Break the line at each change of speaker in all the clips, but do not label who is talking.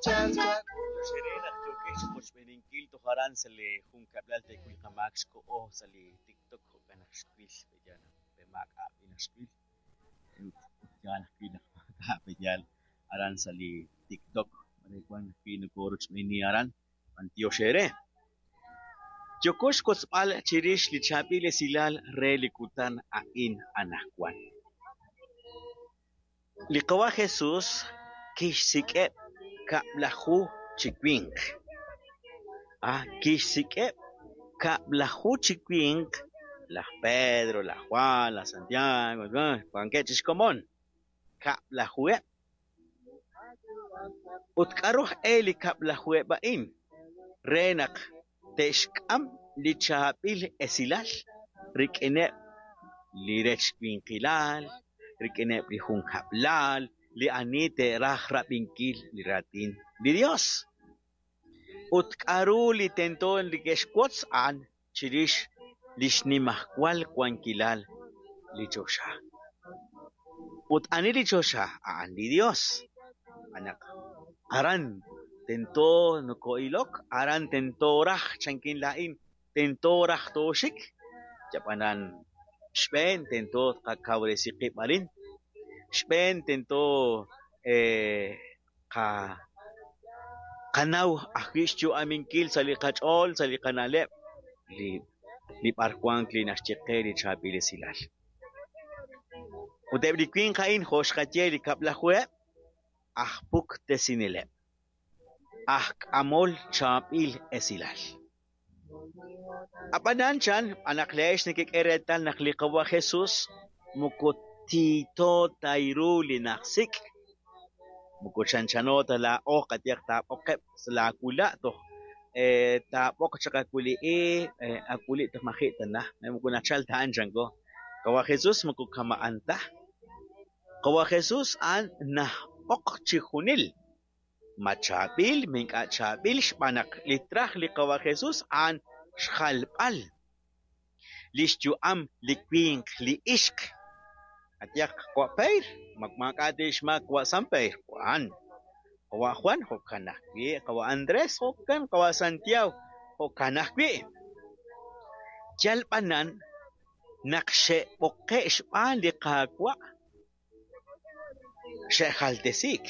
Xere naq yookex chiqochb'eeninkil toj aran sa' li junkab'lal teekuy qamaak xkoho sa' li TikTok jo'kan naq xwil pe'yaal naq pe maak'a' naq xwil ut yaal ajwi' naq maak'a' pe'yaal aran sa' li TikTok re wan ajwi' nokorochb'eeni aran b'antiox eere. Yooko xwotzb'al chirix li chaab'il esilal re li kutan a'in anaqwan. Li Qawa' Jesús kixsik'eb' 10 chi winq. Kixsik'eb' 10 chi winq, laj Pedro, laj Juan, laj Santiago, wankeb' chi xkomon, 10-eb. Ut k'aru aj e li 10-eb a'in? Re naq te'xk'am li chaab'il esilal rik'ineb' li rechwinqilal, rik'ineb' li junkab'lal, li ani te'raj rab'inkil li raatin li Dios. Ut k'aru li tento neke'xwotz a'an chirix li xnimajwal wankilal li choxa. Ut ani li choxa? A'an li Dios. Anaq aran tento noko'ilok, aran tento raj chankin laa'in, tento raj tooxik. Yab'anan xb'een tento tqakawresi qib' arin, xb'een tento qanaw ajwi' xyu'aminkil sa' li qach'ool, sa' li qana'leb' li b'arwank li naxye qe li chaab'il esilal. Ut eb' li winq a'in jo' xqaye li 10-eb' aj puktesineleb', aj k'amol chaab'il esilal. Ab'anan chan anaq leex nekek'e reetal naq li Qawa' Jesús moko tiito ta ru li najsik', moko chanchano ta laa'o qayehaq taab'oqeb' sa' laawula' toj taab'oq chaq awuli'i awuli' toj maji' ta naj, moko nachal ta a'an chanko. Qawa' Jesús moko kama'an ta. Qawa' Jesús a'an najb'oq chi junil. Ma chaab'il, ma ink'a' chaab'il xb'aan naq li traj li Qawa' Jesús a'an xjalb'al li xyu'am li winq li ixq. Qayehaq qawa' Peyr, maak'a' tixmaak qawa' San Peyr, Juan. Qawa' Juan jo'kan ajwi', qawa' Andrés jo'kan, qawa' Santiago jo'kan ajwi'. Yal b'anan naq xe'b'oqe' xb'aan li Qaawa' xe'jaltesiik.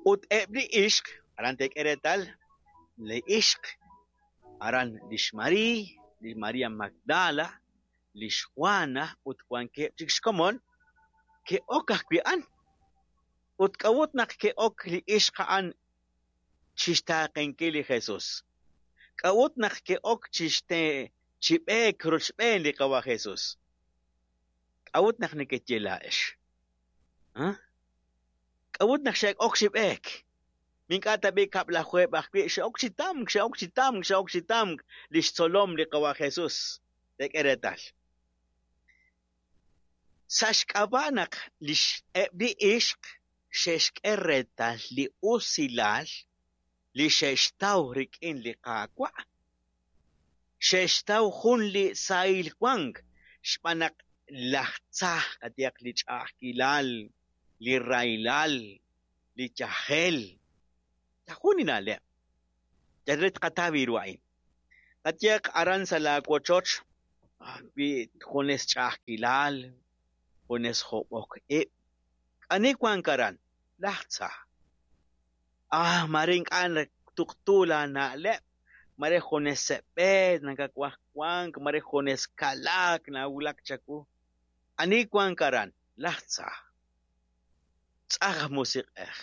Ut eb' li ixq, aran teek'e reetal, li ixq, aran lix Mariiy, li María Magdala, lix Juana ut wankeb' chik xkomon, ke'ok ajwi' a'an. Ut k'a'ut naq ke'ok li ixq a'an chixtaaqenkil li Jesús? K'a'ut naq ke'ok chi b'eek rochb'een li Qawa' Jesús? K'a'ut naq nekeye laa'ex? K'a'ut naq xe'ok chi b'eek? Ink'a' tab'i' 10-eb ajwi' xe'ok chi tamk, xe'ok chi tamk, xe'ok chi tamk li xtzolom li Qawa' Jesús. Teek'e reetal. Sa' xk'ab'a' naq eb' li ixq xe'xk'e reetal li usilal li xe'xtaw rik'in li Qaawa', xe'xtaw jun li sahil wank xb'aan naq laj tza qayehaq li ch'a'ajkilal, li rahilal, li yajel, jun li na'leb'. Yal re tqataw ru a'in. Qayehaq aran sa' laawochoch wi junes ch'a'ajkilal, junes job'ok ib', ani wank aran? Laj tza. Mare ink'a' tuqtu laana'leb', mare junes seb'eet nakawaj wank, mare junes kalaak nawulak chawu. Ani wank aran? Laj tza. Tz'aj aj musiq'ej.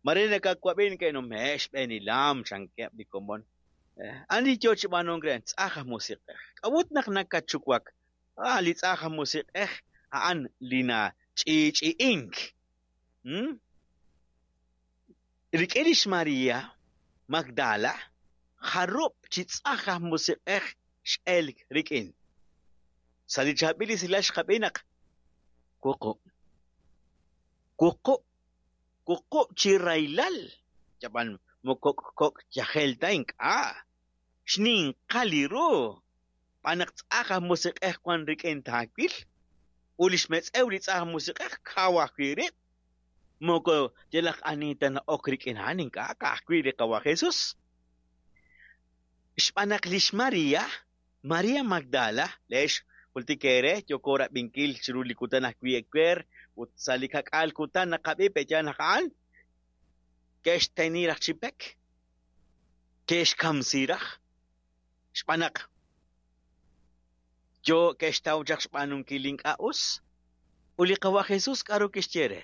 Mare nakawab'i neke'nume'k xb'eenilam chankeb' li komon. Ani yo chi b'aanunk re? Tz'aj aj musiq'ej. K'a'ut naq nakachuwak? Li tz'aj aj musiq'ej a'an li nach'i'ch'i'ink. Rik'in lix María Magdala jarub' chi tz'aj aj musiq'ej x'elk rik'in. Sa' li chaab'il esilal xqab'i naq wuqub'. Wuqub', wuqub' chi rahilal. Yab'an moko kok' yajel ta ink'a'. Xninqal li ru. B'an naq tz'aj aj musiq'ej wan rik'in taawil. Ut li xmetz'ew li tz'aj aj musiq'ej kaw ajwi' rib'. Moko yalaq ani ta na'ok rik'in a'an, ink'a' ka'ajwi' li Qawa' Jesus. Xb'aan naq lix Maria, Maria Magdala, leex jultik eere yooko rab'inkil chiru li kutan ajwi' ewer ut sa' li ka'k'aal kutan naqab'i pe'yaal naq a'an ke'xteni raj chi pek, ke'xkamsi raj xb'aan naq yo ke'xtaw chaq xb'aanunkil li ink'a' us. Ut li Qawa' Jesus k'aru kixye re?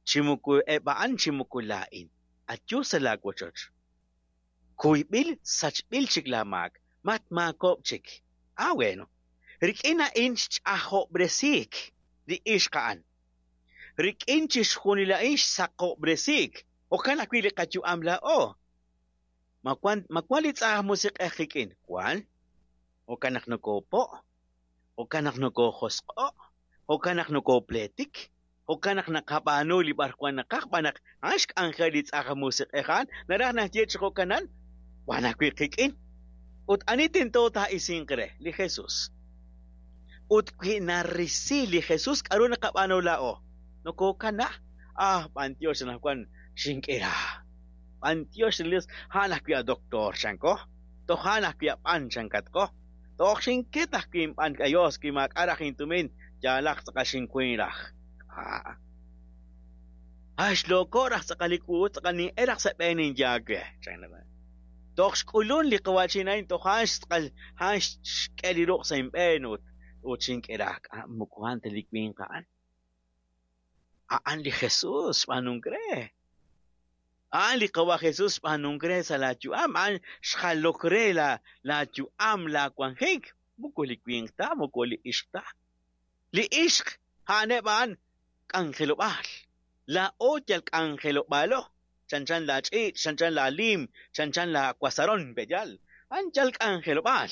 Chi moko eb' a'an chi moko laa'in, ayu sa' laawochoch. Kuyb'il sachb'il chik laamaak, matmaakob'k chik. Ah, bueno. Rik'in a'in xch'ajob'resiik li ixq a'an. Rik'in chixjunil a'in xsaqob'resiik. Jo'kan ajwi' li qayu'am laa'o. Ma wan, ma wan li tz'aj musiq'ej qik'in? Wan. Jo'kan naq nokoopo', jo'kan naq nokoojosq'o', jo'kan naq nokoopleetik, jo'kan naq naqab'aanu li b'arwan naqaj, xb'aan naq a'an xk'anjel li tz'aj musiq'ej a'an, naraj naxye chi jo'kanan, wan ajwi' qik'in. Ut ani tento taa'isinq re? Li Jesus. Ut wi narisi li Jesus, k'aru naqab'aanu laa'o? Nokookana. Ah, b'antiox anaqwan xink'ira. B'antiox li Dios, a'an ajwi' a doctor chanko. Toj a'an ajwi' a b'an chankatqo. Toj xinket ajwi' inb'an k'ayos wi maak'a' raj intumin, yaalaq tz'aqal xinkuy raj. K'a'. Ah, xloko raj tz'aqal li wu, tz'aqal nin'el raj sa' b'een inyaawe, chan. Toj xk'ulun li qawa'chin a'in, toj a'an xtz'aqal, a'an xk'e li ruq' sa' inb'een ut ut xink'e raj. K'a' moko a'an ta li winq a'an. A'an li Jesus xb'aanunk re. A'an li Qawa' Jesus xb'aanunk re sa' laa yu'am, a'an xjalok re laa, laa yu'am, laa wanjik. Moko li winq ta, moko li ixq ta. Li ixq, a'aneb' a'an k'anjelob'aal. Laa'o yal k'anjelob'aalo, chanchan laa ch'iich', chanchan laa liim, chanchan laa wasaron, pe'yaal. A'an yal k'anjelob'aal.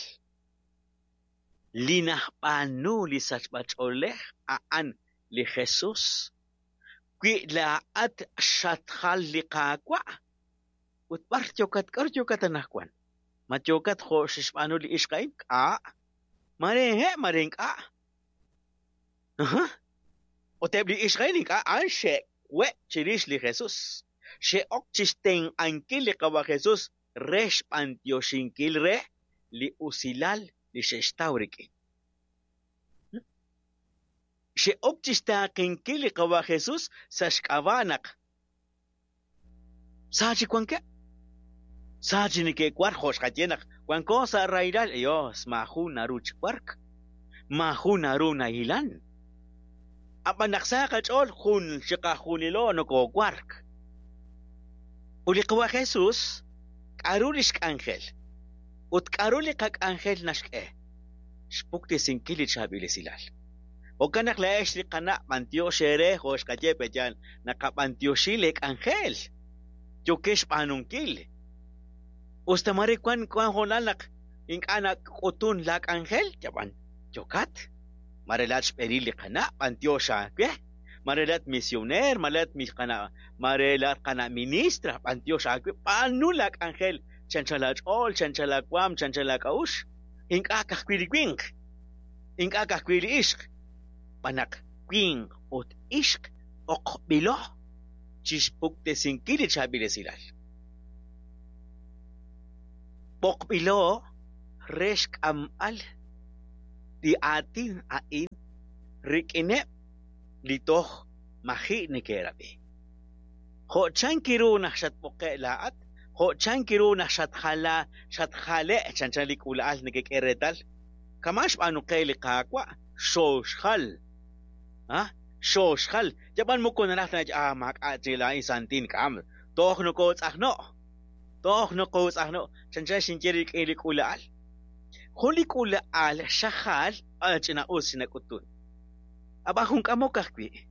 Li najb'aanu li sachb'a-ch'oolej a'an li Jesus. Wi laa'at xatjal li Qaawa', ut b'ar yookat, k'aru yookat anaqwan? Ma yookat jo' xe'xb'aanu li ixq a'in? K'a'. Mare he', mare ink'a'. Aha. Ut eb' li ixq a'in ink'a' a'an xe'we' chirix li Jesus. Xe'ok chi xtenq'ankil li Qawa' Jesus re xb'antioxinkil re li usilal li xe'xtaw rik'in. Xe'ok chi xtaaqenkil li Qawa' Jesus sa' xk'ab'a' naq sa chik wankeb', sa chik neke'wark jo' xqaye naq wanko sa' rahilal, Dios, maajun naru chi wark, maajun naru nahilan. Ab'an naq sa qach'ool jun chiqajunilo nokoowark. Ut li Qawa' Jesus, k'aru li xk'anjel? Ut k'aru li qak'anjel naxk'e? Xpuktesinkil li chaab'il esilal. Jo'kan naq laa'ex li qana' b'antiox eere jo' xqaye pe'yaal naqab'antioxi leek'anjel yookex xb'aanunkil. Us ta mare wan wan hoonal naq ink'a' nak'utun laak'anjel, yab'an yookat. Mare laa'at xb'eenil li qana' b'antiox aawe. Mare laa'at misioneer, mare laa'at qana', mare laa'at qana' ministra, b'antiox aawe. B'aanu laak'anjel chanchal aach'ool, chanchal aawaam, chanchal aak'a'uxl. Ink'a' ka'ajwi' li winq, ink'a' ka'ajwi' li ixq, xb'aan naq winq ut ixq b'oqb'ilo chixpuktesinkil li chaab'il esilal. B'oqb'ilo re xk'amb'al li aatin a'in rik'ineb' li toj maji' neke'rab'i. Jo' chank ru naq xatb'oqe' laa'at, jo' chank ru naq xatjala, xatjale' chanchan li k'uula'al nekek'e reetal, kama' xb'aanu qe li Qaawa', xooxjal. Ha? Xooxjal. Yab'an moko naraj ta nach, ah, maak'a' chik laa'in santin k'am. Toj nokootz'ajno'. Toj nokootz'ajno'. Chanchan xinye rik'in li k'uula'al. Jun li k'uula'al xajal, ah, ch'ina'us xinak'utun. Ab'an jun k'amok ajwi'.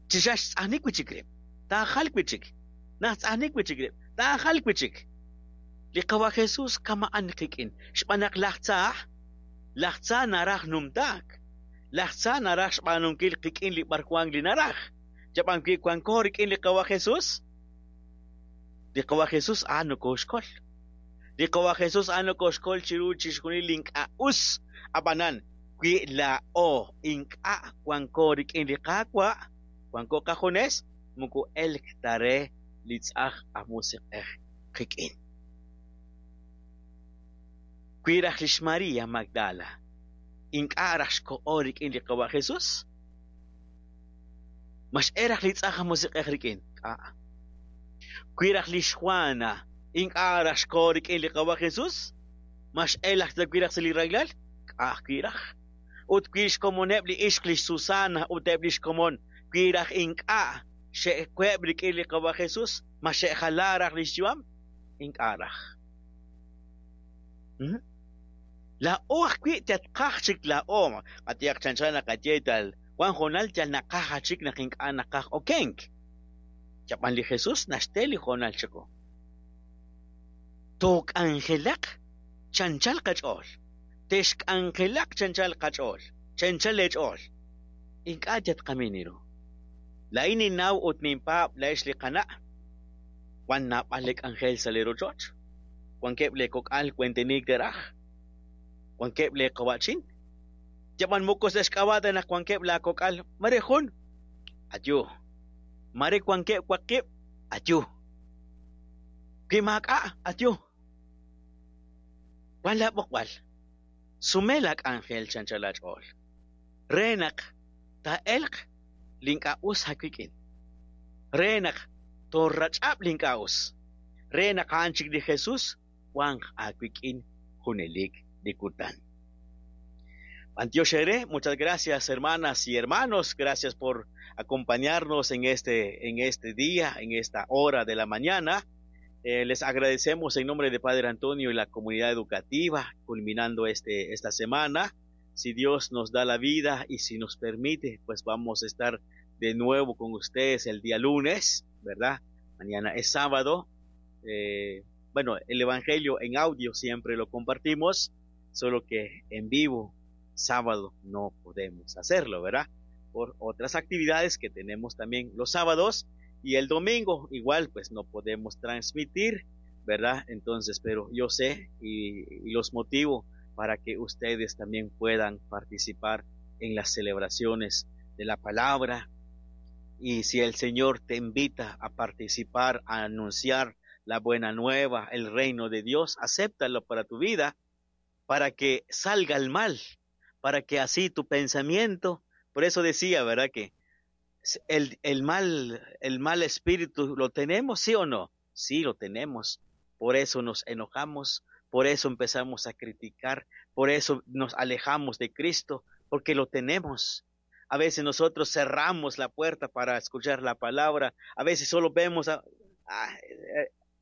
Chi xa xtz'ajnik wi' chik rib', taajal wi' chik. Najtz'ajnik wi' chik rib', taajal wi' chik. Li Qawa' Jesus kama'an qik'in, xb'aan naq laj tza, laj tza naraj numtaak. Laj tza naraj xb'aanunkil qik'in li b'arwan li naraj. Yab'an wi wanko rik'in li Qawa' Jesus, li Qawa' Jesus a'an nokooxkol. Li Qawa' Jesus a'an nokooxkol chiru chixjunil li ink'a' us. Ab'anan, wi laa'o ink'a' wanko rik'in li Qaawa', Wanko qajunes, moko elk ta re li tz'aj aj musiq'ej qik'in. Wi raj lix Maria Magdala ink'a' raj xkoho rik'in li Qawa' Jesus, ma x'e raj li tz'aj aj musiq'ej rik'in? K'a'. Wi raj lix Juana ink'a' raj xkoho rik'in li Qawa' Jesus, ma x'e laj wi raj sa' li rahilal? K'a' ajwi' raj. Ut wi xkomoneb' li ixq lix Susana ut eb' lix komon, wi raj ink'a' xe'web' rik'in li Qawa' Jesus, ma xe'jala raj lix yu'am? Ink'a' raj. Laa'o ajwi' tatqaj chik laa'o, qayehaq chanchan naqaye tal wan hoonal yal naqaj achik naq ink'a' naqaj okenk. Yab'an li Jesus naxte li hoonal chiqu. Took'anjelaq chanchal qach'ool. Texk'anjelaq chanchal qach'ool, chanchal leech'ool. Ink'a' yatqamin ru. Laa'in ninnaw ut ninpaab' laa'ex li qana'. Wan naab'al li k'anjel sa' li rochoch. Wankeb' lee kok'al wenteniik te'raj. Wankeb' lee qawa'chin. Yab'an moko sa' xk'ab'a' ta naq wankeb' laa kok'al, mare jun, ayu. Mare wankeb' waqib', ayu. Wi maak'a', ayu. Wan laa b'oqb'al. Sume laa k'anjel chanchal aach'ool. Re naq taa'elq li ink'a' us aawik'in. Re naq toorach'ab' li ink'a' us. Re naq a'an chik li Jesus wanq aawik'in junelik li kutan. B'antiox eere, muchas gracias hermanas y hermanos, gracias por acompañarnos en este día, en esta hora de la mañana. Les agradecemos en nombre de Padre Antonio y la comunidad educativa, culminando esta semana. Si Dios nos da la vida y si nos permite, pues vamos a estar de nuevo con ustedes el día lunes, ¿verdad? Mañana es sábado. Bueno, el Evangelio en audio siempre lo compartimos, solo que en vivo, sábado, no podemos hacerlo, ¿verdad? Por otras actividades que tenemos también los sábados. Y el domingo igual pues no podemos transmitir, ¿verdad? Entonces, pero yo sé y los motivo para que ustedes también puedan participar en las celebraciones de la palabra. Y si el Señor te invita a participar, a anunciar la buena nueva, el reino de Dios, acéptalo para tu vida, para que salga el mal, para que así tu pensamiento, por eso decía, ¿verdad? Que el mal espíritu, ¿lo tenemos, sí o no? Sí, lo tenemos. Por eso nos enojamos, por eso empezamos a criticar, por eso nos alejamos de Cristo, porque lo tenemos. A veces nosotros cerramos la puerta para escuchar la palabra, a veces solo vemos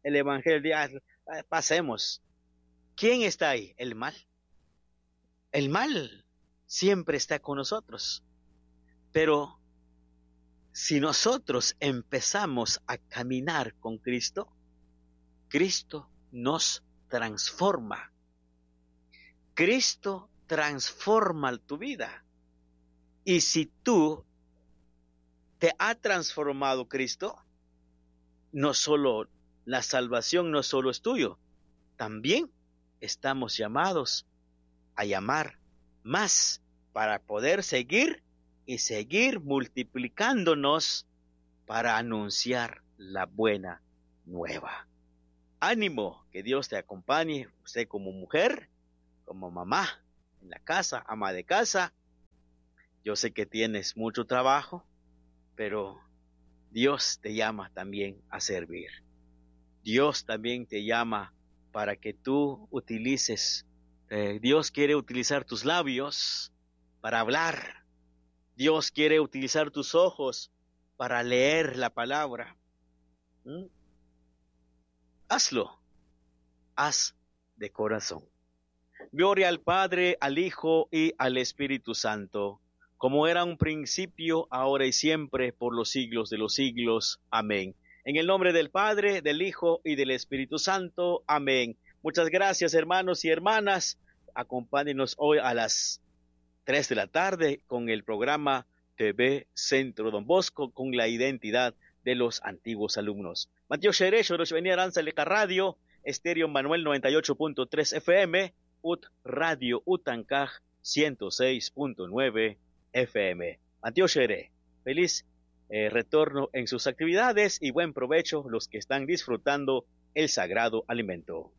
el Evangelio, pasemos. ¿Quién está ahí? El mal. El mal siempre está con nosotros, pero si nosotros empezamos a caminar con Cristo, Cristo nos transforma. Cristo transforma tu vida. Y si tú te ha transformado Cristo, no solo la salvación no solo es tuyo, también estamos llamados a llamar más para poder seguir y seguir multiplicándonos para anunciar la buena nueva. Ánimo, que Dios te acompañe, usted como mujer, como mamá en la casa, ama de casa. Yo sé que tienes mucho trabajo, pero Dios te llama también a servir. Dios también te llama para que tú utilices. Dios quiere utilizar tus labios para hablar. Dios quiere utilizar tus ojos para leer la palabra. Hazlo. Haz de corazón. Gloria al Padre, al Hijo y al Espíritu Santo, como era un principio, ahora y siempre, por los siglos de los siglos. Amén. En el nombre del Padre, del Hijo y del Espíritu Santo. Amén. Muchas gracias, hermanos y hermanas. Acompáñenos hoy a las 3 de la tarde con el programa TV Centro Don Bosco con la identidad de los antiguos alumnos. Mateo Xerecho, Rosh Aranza Leca Radio, Estéreo Manuel 98.3 FM, UT Radio Utancaj 106.9 FM. Mateo Xere, feliz retorno en sus actividades y buen provecho los que están disfrutando el sagrado alimento.